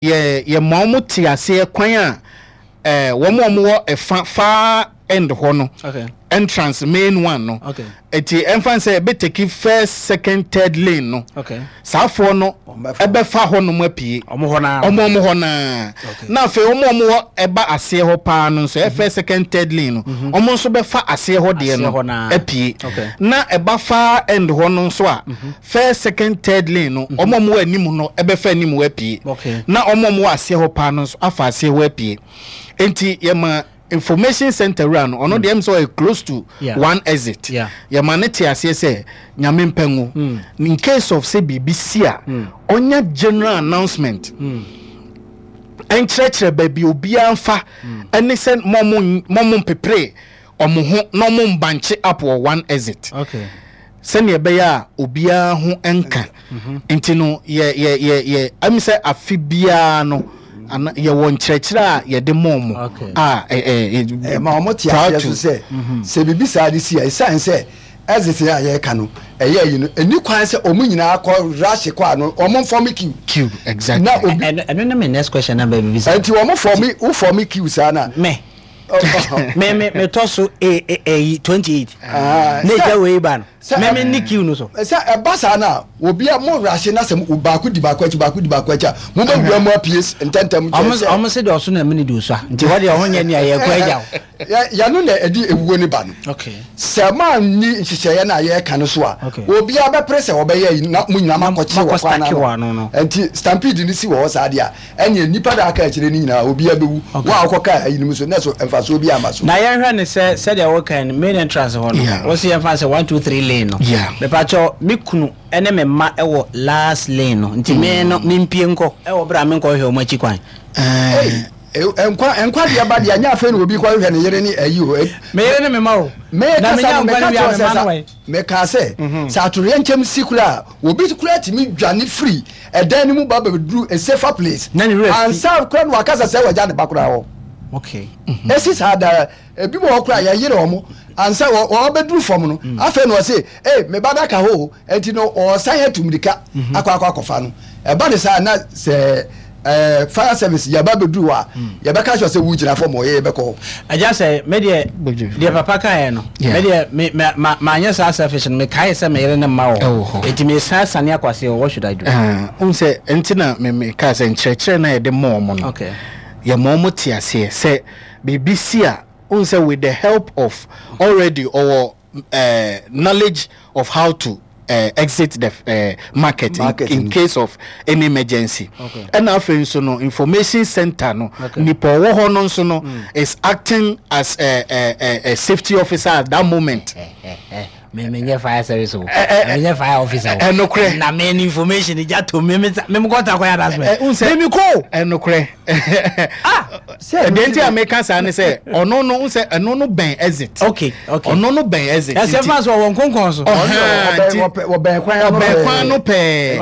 Yɛ yɛma wɔn te aseɛ kwan a ɛɛ wɔn a wɔwɔ ɛfa far end hɔ no Okay. entrance main one no Okay. eti ɛnfa sɛ ɛbɛ take first second third lane no Okay. saafoɔ no Wɔn bɛfa. ɛbɛfa hɔ nom apue Ɔmo hɔ naa. ɔmo ɔmo hɔ naa Okay. na afei ɔmo ɔmo wɔ ɛba aseɛ hɔ paa no nso ɛfɛ second third lane no ɔmo nso bɛfa aseɛ hɔ deɛ Aseɛ no hɔ naa. apue Okay. na ɛba far end hɔ no nso a first second third lane no ɔmo a ɔmo wɔ anim no ɛbɛfa anim hɔ apue Okay. na ɔmo a ɔmo wɔ aseɛ hɔ paa no nso afa aseɛ hɔ apue nti yɛma information center wura no ɔno deɛ ɛm sɛ ɔyɛ close to one exit yɛma ne te aseɛ sɛ nyame mpɛ ngo in case of sɛ biribi si a ɔnya general announcement ɛnkyerɛkyerɛ baabi obiara nfa ɛne sɛ mɔmo mɔmo mpepere ɔmo ho na ɔmo mbankye up wɔ one exit. Okay. Sɛnea ɛbɛyɛ a obiara ho nka nti no, yɛ yɛ yɛ yɛ ɛmi sɛ afe biara no ana yɛwɔ nkyerɛkyerɛ a yɛde ma wɔn Okay. a ɛ ɛ ɛ ɛma wɔn te prior aseɛ to so sɛ sɛ biribi saa de si a ɛsiane sɛ exit a yɛreka no ɛyɛ ayi no ɛni kwan sɛ wɔn nyinaa kɔ rush kɔ ano wɔn nfɔm queue queue exactly. Na obi Ɛno ɛno ne me next question na baabi bisa. nti wɔn fɔm wo fɔm queue saa na Me. Me me me tɔ so e e eyi 28. Ah, Ne sɛ- gya wei ba no. sɛ- Me me ni queue no so. Sɛ ɛba saa no a obi a mo rush na sɛ mo- baako di baako akyi baako di baako akyi a mo bɛ wura mu apue ntɛntɛm Ɔmo kyerɛ sɛ ɔmo se deɛ ɔso na mene de osua. Nti hɔ deɛ ɔho nyɛ nea yɛkɔ agya wo. Yɛ- yɛno na ɛde ewuo ne ba no. Okay. Sɛ moanni nhyehyɛeɛ no a yɛreka no so a, Okay. obiara bɛpere sɛ ɔbɛyɛ ayi na mo nyinaa moakɔkye Moakɔ wɔ kwan stake wɔ ano ano. no. Nti stampede no si wɔ hɔ saa deɛ a, ɛnneɛ nnipa no a aka akyire no nyinaa obiara bɛwu. Okay. Wo a wokɔkaa ayi no mu so, na so mfasoɔ biara amma so. Na yɛnhwɛ no sɛ sɛdeɛ woka no main entrance hɔ no, Yeah. wo se yɛmfa no sɛ one two three lane no. Yeah. Mepakyɛw me kunu ne me mma wɔ last lane no nti me no mempie nkɔ wɔ berɛ a menkɔhwehwɛ wɔn akyi kwan. Ɛɛ. Ei, nkwa nkwa deɛ ba deɛ nyɛ afei na obi kɔhwehwɛ ne yere ne ayi o. Me yere ne me mma o. Me Na kasa menya no nkwa meka no wie a kyerɛ me sɛ mma no sa wɔ mekaa sɛ sɛ atoyerɛnkyɛm si koraa a obi koraa tumi dwane firi ɛdan no mu ba bɛduru a safer place Na ne werɛ afi. ansa koraa na wakasa sɛ wagya ne ba koraa hɔ. Okay. Esi saa daa ebi wɔ hɔ koraa yɛyere wɔn ansa wɔ wɔbɛduru fam no afei na ɔse ee me ba da ka hɔ o Enti no ɔresan atu mmirika akɔ akɔ akɔfa no. Ɛba ne saa na sɛ ɛɛ fire service yɛba bɛduru hɔ a, yɛbɛka kyerɛ sɛ wogyina fam hɔ, yɛ yɛbɛkɔ hɔ. Agya sɛ me deɛ deɛ papa kaeɛ no me deɛ me me ma manyɛ saa selfish no mekae sɛ me yere ne mma wɔ hɔ enti mesan sane akɔ aseɛ hɔ what should I do? Wohu sɛ nti na me me kaa sɛ nkyerɛkyerɛ no a yɛde ma wɔn no Okay. yɛma wɔn te aseɛ sɛ biribi si a wohu sɛ with the help of already ɔwɔ uh, knowledge of how to uh, exit the uh, market, market in, in case of any emergency. Ɛna afei nso no information center no okay. nipa ɔwɔ hɔ no nso no is acting as a, a, a, a safety officer at that moment. Me me nyɛ fire service o me nyɛ fire officer o ɛnokorɛ na me ni information gya to me me me kɔ ta kɔ yɛ announcement me mi ko ɛnokorɛ ah Deɛ nti a meka saa ne sɛ ɔno no sɛ ɛno no bɛn exit. Okay okay. Ɔno no bɛn exit. Ɛsɛ fa so ɔwɔ nkonkɔn so. Ɔbɛn kwan no pɛɛ.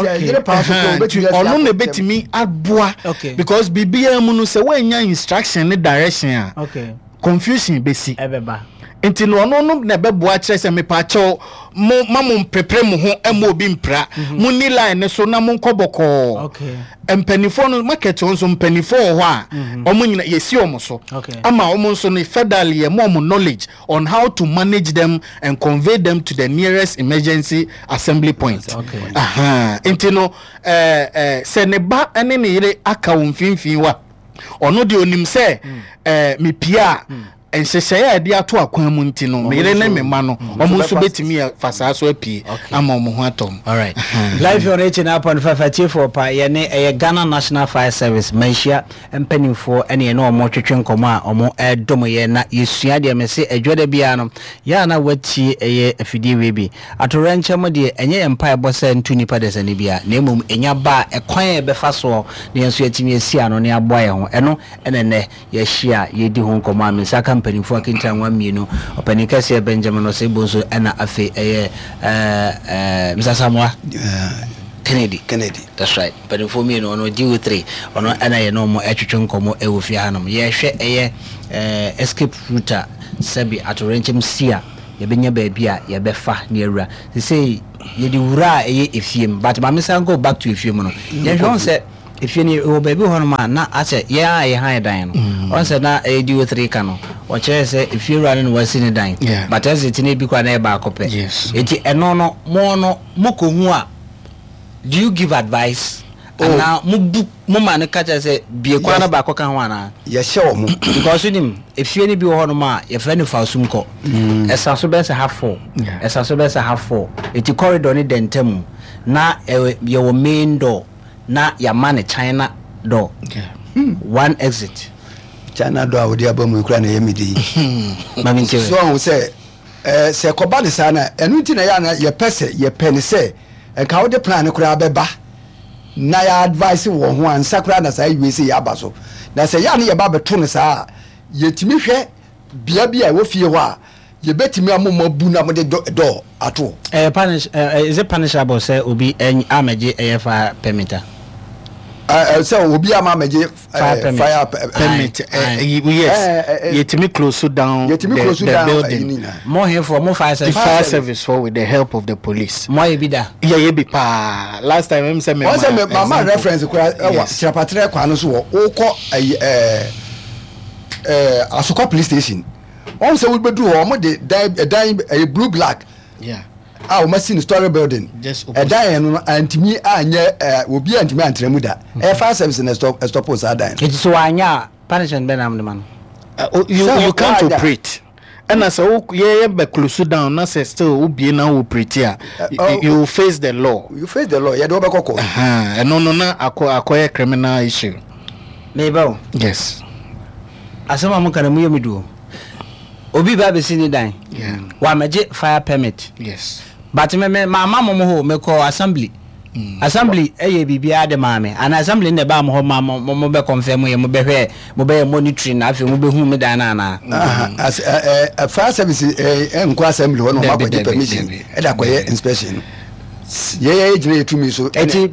Nti ɔno na ebetumi aboa. Okay. Because biribiara mu no sɛ wɔanya instruction ne direction a. Okay. Confusion besi. Ɛbɛba. Nti no ɔno no na ɛbɛboa kyerɛ sɛ mepaakyɛw mo ma mo mprepre mo ho ɛma obi mpira. Mhm. Mo ni line ne so na mo nkɔ bɔkɔɔ. Okay. Mpanimfoɔ no market hɔ nso mpanimfoɔ wɔ hɔ a mhm. wɔn nyina yɛsi wɔn so ama wɔn nso no federal yɛ mo wɔn knowledge on how to manage them and convey them to the nearest emergency assembly point. Okay. Aha. Nti no ɛɛ ɛɛ sɛ ne ba ne ne yere aka wɔn mfimfini wa ɔno deɛ onim sɛ ɛɛ mepia a. Mm. Nhyehyɛe a yɛde ato akwan mu nti no, me yere ne me mma no, wɔn nso betumi afa saa so apue ama wɔn ho atɔ wɔn. Alright. Live on 89.5 atiefoɔ pa yɛne ɛyɛ Ghana National Fire Service manhyia mpanimfoɔ ɛne yɛne wɔn twetwe nkɔmmɔ a wɔn ɛredom yɛ na yɛsua deɛ mese adwada biara no yɛ a na watie ɛyɛ afidie wei bi atowerɛnkyɛm deɛ ɛnyɛ yɛn mpaebɔ sɛ nto nnipa dasani biara na mmom ɛnya ba a ɛkwan a yɛbɛfa soɔ na yɛn nso yɛatumi asi ano na yɛaboa yɛn ho ɛno ɛna ɛnɛ Yɛahyia a yɛredi ho nkɔmmɔ a me nsa aka mpanimfoɔ akentanwa mmienu, Ɔpanin Kɛseɛ Benjamin Osei Bonsu ɛna afei ɛyɛ ɛɛ Mr. Asamoah Kennedy. Kennedy. That's right. Mpanimfoɔ mmienu ɔno DO3 ɔno ɛna yɛne wɔn ɛtwetwe nkɔmmɔ ɛwɔ fie hanom. Yɛrehwɛ ɛyɛ ɛɛ escape route a sɛbi atoyerɛnkyɛm si a yɛbɛnya baabi a yɛbɛfa ne awura. Sesei yɛde wura a ɛyɛ efie mu but maame san go back to efie mu no. Yɛhwɛ wɔn sɛ. Efie no wɔ baabi wɔ hɔnom a na asɛ yɛn a yɛhan dan no, ɔn sɛ na ɛyɛ DO3 ka no, ɔkyerɛɛ sɛ efie wura no na wasi ne dan, but exit no ebi koraa na ɛyɛ baako pɛ. Enti ɛno no, mo no mokɔhu a, do you give advice? Anaa mo bu mo ma no ka kyerɛ sɛ bie kwan no baako ka ho anaa? Yɛhyɛ wɔn. Because wonim, efie no bi wɔ hɔnom a yɛfrɛ no fasum kɔ. Ɛsa so bɛyɛ sɛ half four, ɛsa so bɛyɛ sɛ half four. Enti corridor no da ntamu, na yɛwɔ main door. Na yɛama no China door, one exit. China door a wode aba mu yi koraa na ɛyɛ me de yi. Ma me nkyerɛ. So ɔho sɛ ɛɛ sɛ kɔba ne saa na ɛno nti na yɛ ana yɛpɛ sɛ yɛpɛ ne sɛ nka wode plan no koraa bɛba na yɛ advice wɔ ho ansa koraa na saa wie sɛ yɛaba so na sɛ yɛ a ne yɛba bɛto no saa a yɛtumi hwɛ bea bi a ɛwɔ fie hɔ a Yɛbɛtumi ama mo abu na mode dɔ ato hɔ. Ɛyɛ punish ɛ is it punishable sɛ obi amɛgye ɛyɛ fire permit a? Sɛ obi ama amɛgye fire permit. Fire permit yes. Yɛtumi close down the, the building. Mo hefoɔ mo fire service. Fire service for with the help of the police. Mo ayɛ bi da. Yɛyɛ bi paa last time ɛmu sɛ mɛ ma. Wɔn sɛ mɛ ma reference kura ɛwɔ kyerɛpatrɛ kwan no so wɔ okɔ ɛyi ɛɛ ɛɛ Asokwa police station. Wɔn sɛ wobɛduru hɔ wɔn de dan ɛdan ɛyɛ blue black a wɔn asi no story building ɛdan yɛn no antumi anyɛ ɛɛ obi antumi antena mu da ɛyɛ fire service na ɛstop ɛstop saa dan. Eti so wanyɛ a punishment bɛn na wɔde ma no. You can't operate ɛna sɛ wo yɛyɛ bɛ close down na sɛ still wo bie na wo operate a you face the law. You face the law yɛde wɔbɛkɔ kɔ. Ɛno no na akɔ akɔyɛ criminal issue. Meba o. Yes. Asɛm a moka no mu yɛ me du o. Obi ba abɛsi ne dan. Wamɛgye fire permit. Yes. But me me mamma mo mo hɔ o, mekɔɔ assembly. Assembly ɛyɛ biribiara de maa me. Anaa assembly na ɛbaa mo hɔ ma mo mo bɛ confirm yɛ, mo bɛhwɛ, mo bɛyɛ monitoring na afei mo bɛhu me dan no anaa? Aha, as, ɛ, ɛ, fire service ɛ, ɛnkɔ assembly hɔ na wɔn akɔgye permission ɛde akɔyɛ inspection no. Yɛyɛ gyina yɛ tumi so. Ɛti.